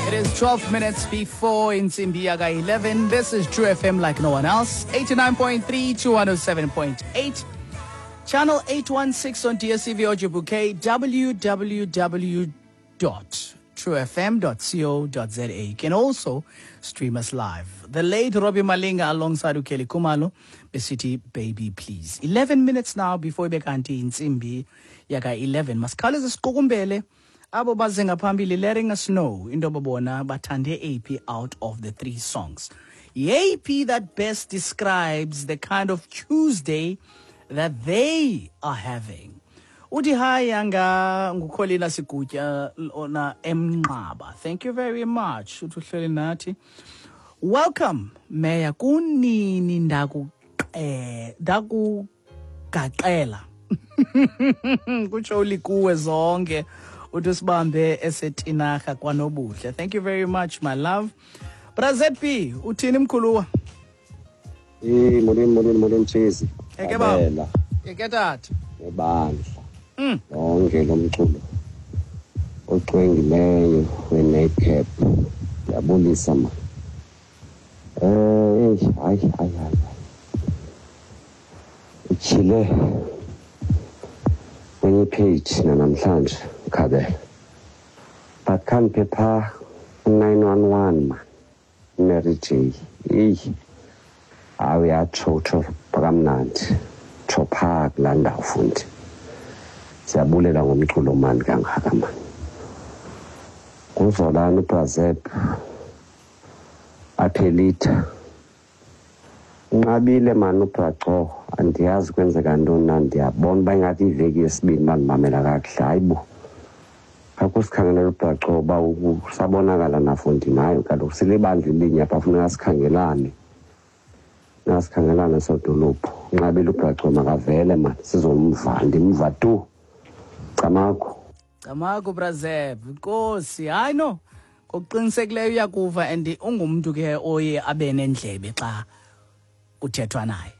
It is 12 minutes before intsimbi yaka 11. This is True FM like no one else. 89.3 to 107.8. Channel 816 on DSTV Audio Bouquet, www.truefm.co.za. You can also stream us live. The late Robbie Malinga alongside uKelly Khumalo, besithi "Baby Please." 11 minutes now before ibe kanti intsimbi yaka 11. Masikhawuleze siqukumbele abo baze ngaphambili letting us know into babona bathande AP out of the three songs. Yeyiphi that best describes the kind of Tuesday that they are having? Uthi hi yanga ngukholina Sigutya ona emnqaba. Thank you very much. Uthi uhleli nathi. Welcome, Mayor. Kunini ndakugaqela. Kutsho ulikuwe zonke. Uthi usibambe esetinarha kwanobuhle. Thank you very much, my love. Bra ZB, uthini mkhuluwa? Eh, molweni, molweni, molweni, Tshezi. Eke baba. Abela Eke tata. nebandla. Lonke lo mculo ocwengileyo we-Nightcap. Ndiyabulisa ma. Eh, hayi, hayi, hayi. Ityhile kwenye page namhlanje, Khabela. But khaniphe phaa u-911 ma. Mary J. Eyi. Hayi, uyatsho, utsho kamnandi, tsho phaa kulaa ndawo fundi. Siyabulela ngomculo mani kangaka mani. Kuzolani uBrazep aphelitha unqabile mani uBraco, andiyazi kwenzeka ntoni na. Ndiyabona uba ingathi iveki yesibini bandimamela kakuhle. Hayi bo, khakusikhangelela uBraco uba usabonakala nafondini. Hayi kaloku, silibandla elinye apha, funeka sikhangelane, nasikhangelane sodolophu. Unqabile uBraco, makavele mani sizomva, ndimva tu. Camakho. Camagu, Brazeb. Nkosi, hayi no. Ngokuqinisekileyo uyakuva and ungumntu ke oye abe nendlebe xa kuthethwa naye.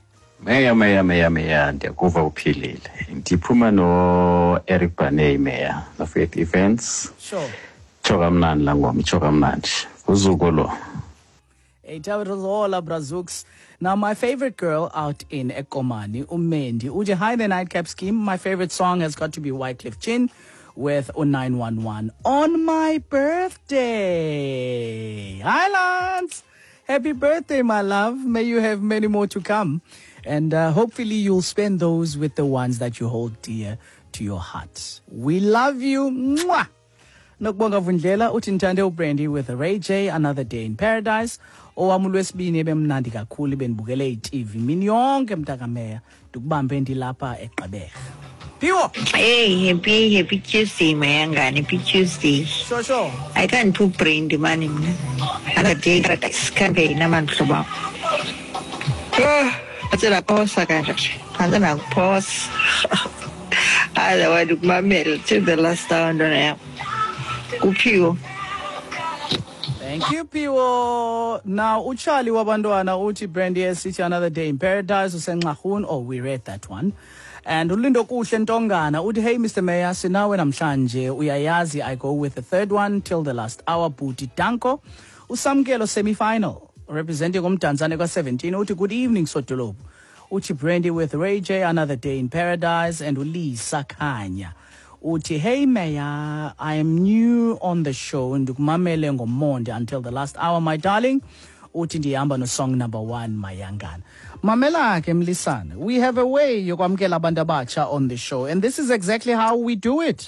Meya, meya, meya, meya, ndiyakuva uphilile. Ndiphuma no-Eric Baney, meya, noFaith Events. Tsho kamnandi laa ngoma, itsho kamnandi. Uzuko lo. Hey, Zola Brazooks. Now, my favorite girl out in Ekomani, uMendi. Uthi, hi, the Nightcap scheme. My favorite song has got to be Wyclef Jean with 911 on my birthday. Hi, Lance. Happy birthday, my love. May you have many more to come. And hopefully you'll spend those with the ones that you hold dear to your heart. We love you. Mwah! Nokubonga Vundlela uthi ndithande uBrandy with Ray J, "Another Day in Paradise." Owam ulwesibini ebemnandi kakhulu, bendibukele iTV mini yonke, mntakameya. Ndikubambe ndilapha eGqeberha. Phiwo. Hey, happy happy Tuesday, mayangani, happy Tuesday. Sure. I can't put Brandy mani mna. "Another Day in Paradise" khange inamani mhlobo wam. Ah, phantse ndaphosa kanje. Phantse ndakuphosa. Otherwise ukumamela till the last hour, ntwana yam. Kuphiwo. Thank you, Piwo. Now, uCharlie wabantwana uthi Brandy esithi "Another Day in Paradise" usenxarhun. Oh, we read that one. And uLindo Kuhle Ntongana uthi, hey, Mr. Mayor, sinawe namhlanje. Uyayazi, I go with the third one till the last hour. Bhuti Danko. Usamkelo semi-final representing uMdantsane kwa-17 uthi, good evening, sodolophu. Uthi Brandy with Ray J, "Another Day in Paradise." And uLisa Khanya uthi, hey Mayor, I am new on the show, ndikumamele ngomonde until the last hour, my darling. Uthi ndihamba no-song number 1, mayangana. Mamela ke mlisana, we have a way yokwamkela abantu abatsha on the show and this is exactly how we do it.